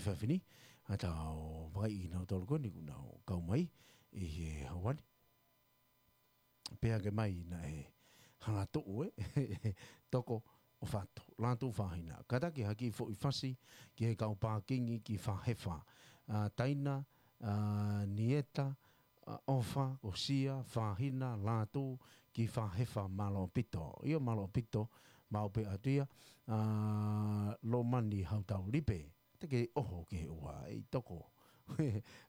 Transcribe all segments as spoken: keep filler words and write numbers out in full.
efiafi ni, ʻa tau vakai ʻi he nau tolu ko eni kuo nau kau mai ʻi he ʻaho ni. Pea ke mai naʻe hala tuʻu ē, Toko, ʻOfa, Lātū, Fāhina. Kātaki ha kiʻi foʻi fasi ki he kau pākingi ki Fāhefa. ʻA, Taina, ʻa, Nieta, ʻa, ʻOfa, Kosia, Fāhina, Lātū, ki Fāhefa, mālō ʻaupito. ʻIo, mālō ʻaupito, maʻu pē atu ia, ʻa, Lomani Hautau, Lipe. Te ke ʻoho ke ua, ʻei Toko.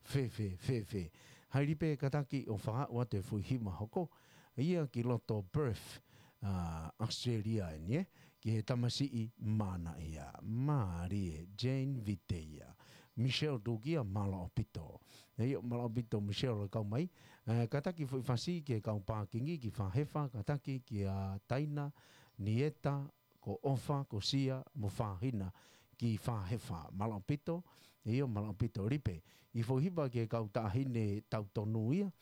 Fēfē, fēfē. Hai Lipe, kātaki ʻo fakahā atu e foʻi hiva hoko. Ia ki loto Perth, ʻa, Australia eni ē. Ki he tamasiʻi mānaʻia. Mālie, Jane Vite ia. Michelle Tukia, mālō ʻaupito. ʻIo, mālō ʻaupito, Michelle, kau mai. ʻE, kātaki foʻi fasi ki he kau pākingi ki Fāhefa, kātaki kia Taina, Nieta, ko ʻOfa, Kosia, mo Fāhina ki Fāhefa. Mālō ʻaupito, ʻio, mālō ʻaupito, Lipe. ʻI he foʻi hiva ki he kau taʻahine tautonu ia,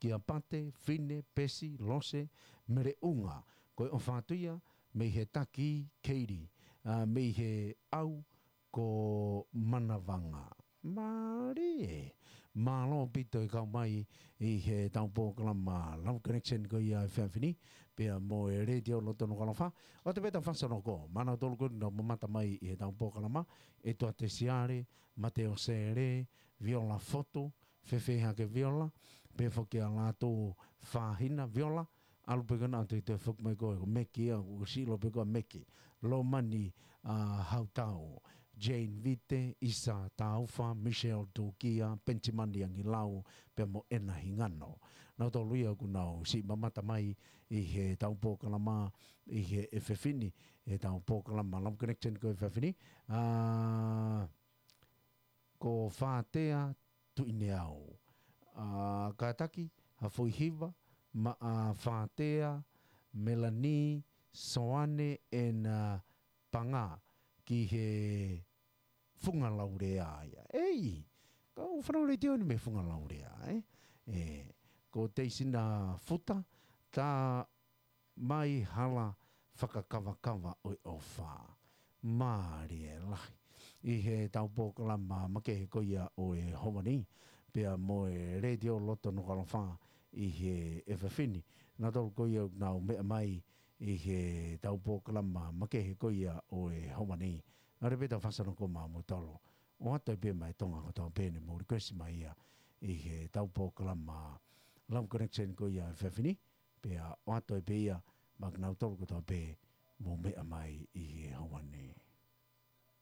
kia Pate, Fine, Pesi, Lose, Meleʻunga. Ko e ʻofa atu ia, mei he taki, Keili, ʻa, mei he ʻau, ko Manavanga. Mālie. Mālō ʻaupito e kau mai ʻi he tau polokalama Love Connection ko ia efiafi ni, pea mo e Letiō Loto Nukuʻalofa. ʻOatu pē ʻetau fasanoko maʻanautolu ko eni ʻoku nau mamata mai ʻi he tau polokalama, ʻEtuate Siale, Mateo Sele, Viola Fotu, fēfē hake Viola, pea foki ʻa Lātū, Fāhina, Viola, ʻalu pē ko ena ʻo toe toe foki mai ko e, ko Meki ia, ko Silo pē ko Meki. Lomani, ʻa, Hautau, Jane Vite, ʻIsa Taufa, Michelle Tukia, Pentimani Angilau, pea mo ʻEna Hingano. Nautolu ia kuo nau siʻi mamata mai ʻi he tau polokalama, ʻi he efiafi ni, he tau polokalama Love Connection ko e efiafi ni. ʻA, ko Fātea Tuʻineau. ʻA, kātaki ha foʻi hiva maʻa Fātea, Melanie, Soane, ʻEna, Panga ki he Funga Laulea ia. ʻEi, kau fanau Letiō ni mei Funga Laulea, ē? ʻE, ko Teisina Futa, tā mai hala fakakavakava ʻo e ʻofa. Mālie lahi. ʻI he tau polokalama makehe ko ia ʻo e ʻaho ni, pea mo e Letiō Loto Nukuʻalofa ʻi he efiafi ni. Nautolu ko ia ʻoku nau meʻa mai ʻi he tau polokalama makehe ko ia ʻo e ʻaho ni. ʻAlu pē ʻetau fasanoko maʻanautolu. ʻOatu pē mai Tonga kotoa pē ne mou request mai ia ʻi he tau polokalama Love Connection ko ia efiafi ni. Pea ʻoatu pē ia maʻanautolu kotoa pē mou meʻa mai ʻi he ʻaho ni.